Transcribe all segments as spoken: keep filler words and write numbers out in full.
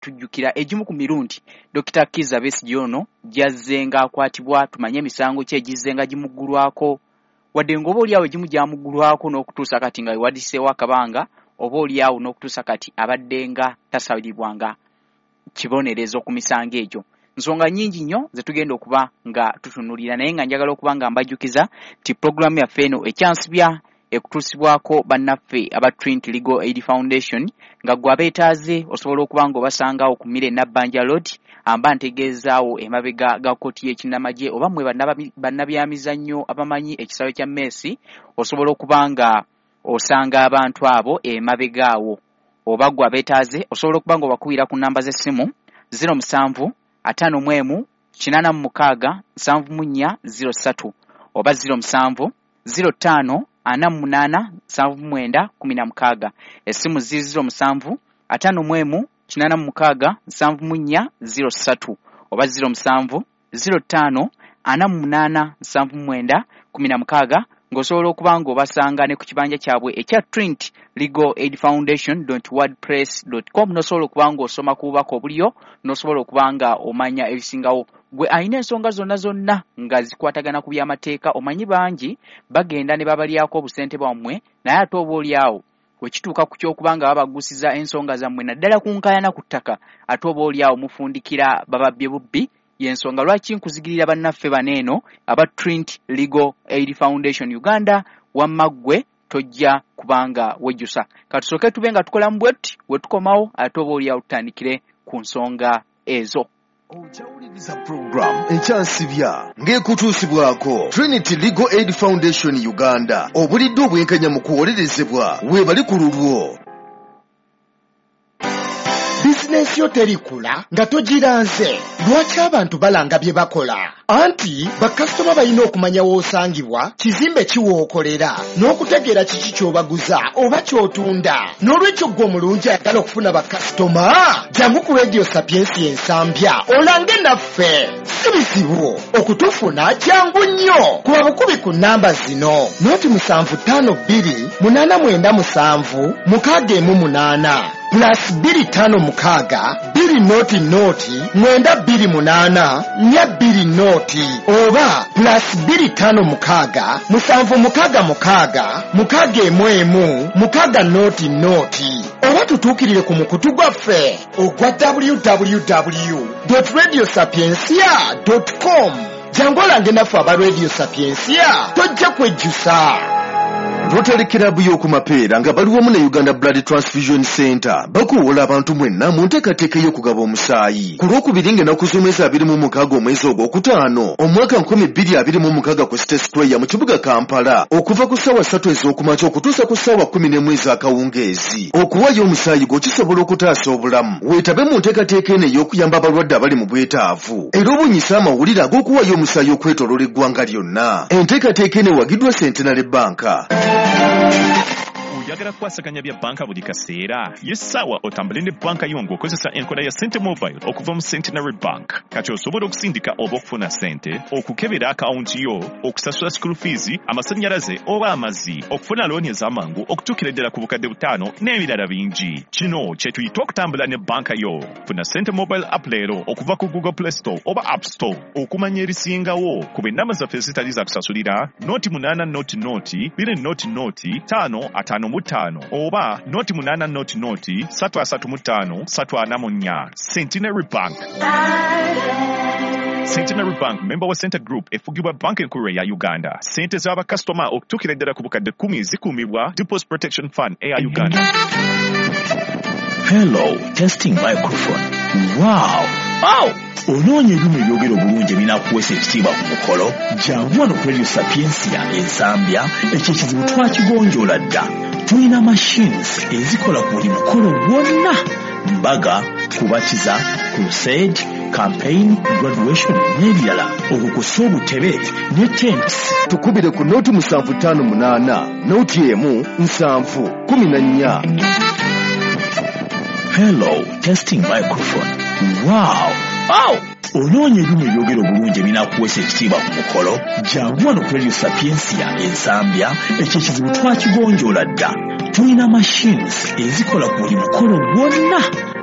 Tujjukira egimu ku mirundi Dokita Kizza Besigye ono gy'azzenga akwatibwa, tumanye emisango ki egizzenga gimuggulwako, wadde ng'oba oliawo egimu gyamuggulwako n'okutuusa kati nga wewadiseewo akabanga, oba oliawo n'okutuusa kati abadde nga tasalibwanga kibonerezo ku misango egyo. Nsonga nnyingi nnyo ze tugenda okuba nga tutunuulira, naye nga njagala okuba nga mbajjukiza nti pulogulaamu yaffe eno ekyansibya ekutuusibwako bannaffe aba Trinity Legal Aid Foundation, nga ggwe abeetaaze osobola okuba nga obasangawo ku Mire Nabbanja Road, amba ntegeezaawo emabega ga kkooti y'ekinnamagye, oba mmwe bannabyamizannyo abamanyi ekisaawe kya Messi, osobola okuba nga osanga abantu abo emabega awo. Oba ggwe abeetaaze osobola okuba nga obakubira ku nnamba z'essimu zero musanvu ataano mu emu kinaana mu mukaaga nsanvu mu nnya zero ssatu oba zero musanvu zero ttaano ana mu munaana nsanvu mu mwenda kumi na mukaaga. Essimu ziri zero musanvu ataano mu emu kinaana mu mukaaga nsanvu mu nnya zero ssatu oba zero musanvu zero ttaano ana mu munaana nsanvu mu mwenda kumi na mukaaga, ng'osobola okuba ng'obasanga ne ku kibanja kyabwe ekya Trinity Legal Aid Foundation dot wordpress dot com, n'osobola okuba ng'osoma ku bubaka obuliyo, n'osobola okuba nga omanya ebisingawo. Gwe alina ensonga zonna zonna nga zikwatagana ku by'amateeka, omanyi bangi bagenda ne babalyako obusente bwammwe, naye ate oba oliawo bwe kituuka ku ky'okuba nga babagusiza ensonga zammwe naddala ku nkaayana ku ttaka, ate oba oliawo mufundikira bababbye bubbi. Y'ensonga lwaki nkuzigirira bannaffe bano eno aba Trinity Legal Aid Foundation Uganda, wamma ggwe tojja kubanga wejjusa. Katusooke tube nga tukolamu bwe tuti, we tukomawo ate oba oliawo tutandikire ku nsonga ezo. Okyawuliriza program ekyansibya ng'ekutuusibwako Trinity Legal Aid Foundation Uganda, obulidde obwenkanya mu kuwolerezebwa weebali ku lulwo. Bizinensi yo terikula nga togiranze. Lwaki abantu balanga bye bakola? Anti bakasitoma balina okumanya w'osangibwa, kizimbe ki w'okolera, n'okutegeera kiki ky'obaguza oba ky'otunda. N'olwekyo ggwe omulungi ayagala okufuna bakasitoma, jangu ku Radio Sapientia Ensambya olange naffe. Si bizibu okutufuna, jangu nnyo. Kuba bukubi ku nnamba zino: noti musanvu ttaano bbiri munaana mwenda musanvu mukaaga emu munaana, plus bbiri ttaano mukaaga bbiri noti noti mwenda bbiri munaana nnya bbiri noti, oba plus bbiri ttaano mukaaga musanvu mukaaga mukaaga mukaaga emu emu mukaaga noti noti, oba tutuukirire ku mukutu gwaffe ogwa w w w dot radio sapientia dot com. Jangu olange naffe aba Radio Sapientia, tojja kwejjusa. Rotary Club y'oku Mapeera nga bali wamu ne Uganda Blood Transfusion Center bakuwola abantu mwenna mu nteekateeka ey'okugaba omusaayi ku Lwokubiri ng'ennaku z'omwezi abiri mu mukaaga omwezi ogwokutaano omwaka nkumi bbiri abiri mu mukaaga ku City Square mu kibuga Kampala, okuva ku ssaawa ssatu ez'okumakya okutuusa ku ssaawa kkumi n'emu ez'akawungeezi. Okuwaayo omusaayi gwo kisobola okutaasa obulamu. Weetabe mu nteekateeka eno ey'okuyamba abalwadde abali mu bwetaavu, era obunyise amawulire ag'okuwaayo omusaayi okwetooloola eggwanga lyonna. Enteekateeka eno ewagiddwa Centenary Bank. Oyagala kukwasaganya bya banka buli kaseera? Ye ssaawa otambule ne banka yo ng'okozesa enkola ya Sente Mobile okuva mu Centenary Bank. Kati osobola okusindika oba okufuna ssente, okukebera akawunti yo, okusasula school fees, amasannyalaze oba amazzi, okufuna looni ez'amangu okutuukira ddala ku bukadde butaano n'ebirala bingi. Kino kye tuyita okutambula ne banka yo. Funa Sente Mobile app leero okuva ku Google Play Store oba App Store. Okumanya ebisingawo kuba ennamba zaffe ezitali za kusasulira noti munaana noti noti bbiri noti noti ttaano ataano mu ttaano oba noti munaana noti noti ssatu asatu mu ttaano ssatu ana mu nnya. Centenary Bank. Centenary Bank, member wa Center Group, efugibwa Banka Enkulu eya Uganda. Ssente z'abakasitoma okutuukira ddala ku bukadde kkumi zikuumibwa Deposit Protection Fund eya Uganda. Hello, testing microphone. Wow! Wow! Onoonya ebyuma ebyogera obulungi ebinaakuweesa ekitiibwa ku mukolo? Jangu wano ku Radio Sapientia Ensambya, ekyo ekizibu twakigonjoola dda. Tulina machines ezikola ku buli mukolo gwonna: mbaga, kubatiza, crusade, campaign, graduation n'ebirala, okukusa obutebe ne tents. Tukubire ku noti musanvu ttaano munaana noti emu nsanvu kumi na nnya. Hello, testing microphone. Wow! Wow! Onoonya ebyuma ebyogera obulungi ebinaakuweesa ekitiibwa ku mukolo? Jangu wano ku Radio Sapientia Ensambya, ekyo ekizibu twakigonjoola dda. Tulina machines ezikola ku buli mukolo gwonna: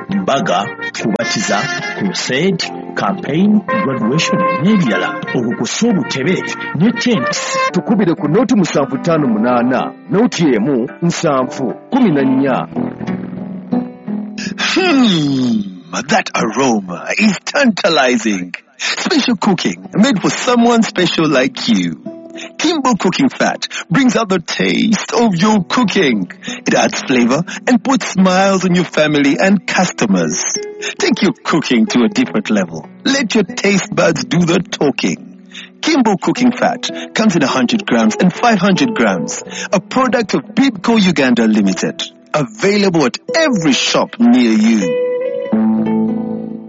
Mbaga, kubatiza, crusade, campaign, graduation n'ebirala. Okukusa obutebe ne tents. Tukubire ku noti musanvu ttaano munaana noti emu nsanvu kumi na nnya. Hmm, that aroma is tantalizing. Special cooking made for someone special like you. Kimbo Cooking Fat brings out the taste of your cooking. It adds flavor and puts smiles on your family and customers. Take your cooking to a different level. Let your taste buds do the talking. Kimbo Cooking Fat comes in one hundred grams and five hundred grams. A product of Bibco Uganda Limited. Available at every shop near you.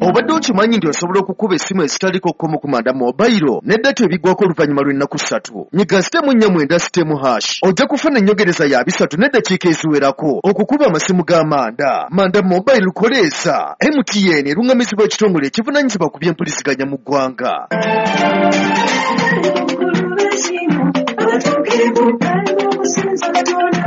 Obadde okimanyi nti osobola okukuba essimu ezitaliko kkomo ku Manda Mobile ne data ebiggwako oluvannyuma lw'ennaku ssatu? Nyiga star nnya mwenda star hash, ojja kufuna ennyongereza ya bisatu n'eddakiika eziwerako okukuba amasimu ga Manda. Manda Mobile koleesa M T N, eruŋŋamizibwa ekitongole ekivunaanyizibwa ku byempuliziganya mu ggwanga. Abatuukirivu bali okusinza Katonda.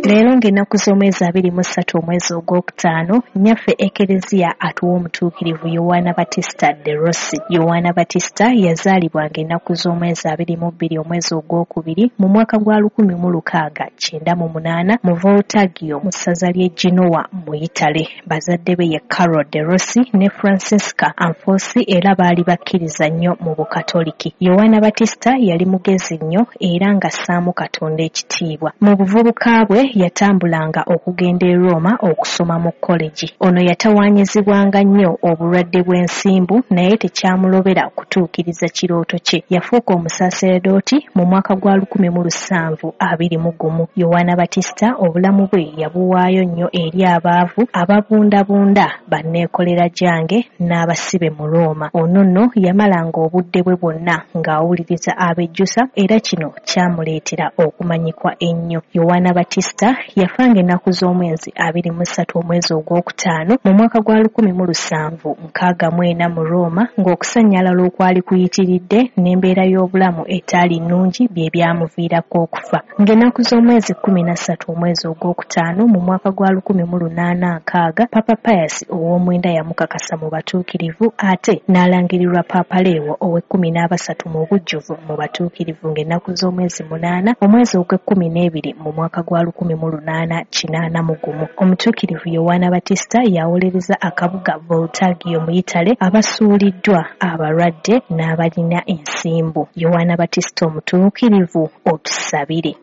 Leero ng'ennaku z'omwezi abiri mu ssatu omwezi ogwokutaano, nnyaffe Ekereziya atuwa omutuukirivu Yowaana Batista de Rossi. Yowaana Batista yazaalibwa ng'ennaku z'omwezi abiri mu bbiri omwezi ogwokubiri mu mwaka gwa lukumi mu lukaaga kyenda mu munaana mu Voltaggio mu ssaza ly'e Genoa mu Yitale. Bazadde be ye Carlo de Rossi ne Francesca Anfosi, era baali bakkiriza nnyo mu Bukatoliki. Yowaana Batista yali mugezi nnyo era ng'assaamu Katonda ekitiibwa. Mu buvubuka bwe yatambulanga okugenda e Roma okusoma mu college. Ono yatawaanyizibwanga nnyo obulwadde bw'ensimbu, naye tekyamulobera kutuukiriza kirooto kye. Yafuuka omusaseredooti mu mwaka gwa lukumi mu lusanvu abiri mu gumu. Yowaana Batista obulamu bwe yabuwaayo nnyo eri abaavu, ababundabunda, banneekolera gyange n'abasibe mu Roma. Ono nno yamalanga obudde bwe bwonna ng'awuliriza abejjusa, era kino kyamuleetera okumanyikwa ennyo. Yowaana Batista yafanga ennaku z'omwezi abiri mu ssatu omwezi ogwokutaano mu mwaka gwa lukumi mu lusanvu nkaaga mu ena mu Roma, ng'okusannyalala okwali kuyitiridde n'embeera y'obulamu etaali nnungi bye byamuviirako okufa. Ng'ennaku z'omwezi kkumi na ssatu omwezi ogwokutaano mu mwaka gwa lukumi mu lunaana nkaaga, Papa Pius ow'omwenda yamukakasa mu batuukirivu, ate n'alangirirwa Paapa Leewo ow'ekkumi n'abasatu mu bujjuvu mu batuukirivu ng'ennaku z'omwezi munaana omwezi ogw'ekkumi n'ebiri mu mwaka gwa lukumi mu lunaana kinaana mu gumu. Omutuukirivu Yowaana Batista yawolereza akabuga Voltaggio mu Yitale, abasuuliddwa, abalwadde n'abalina ensimbu. Yowaana Batista omutuukirivu, otusabire.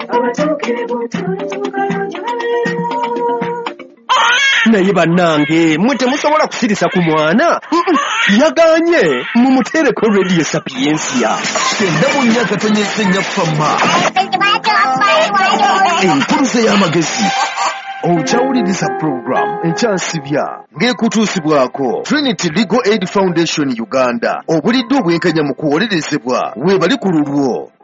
Abatuukirivu tulituukayo gye babeera. Naye bannange, mwe temusobola kusirisa ku mwana. Mm-mm, yaganye mumuteereko Radio Sapiensia kyenda mu nnya akatonyeza ennya fama, enkuluze y'amagezi. Okyawuliriza puroguramu Ekyansibya ng'ekutuusibwako Trinity Legal Aid Foundation Uganda. Obulidde obwenkanya mu kuwolerezebwa, weebali ku lulwo.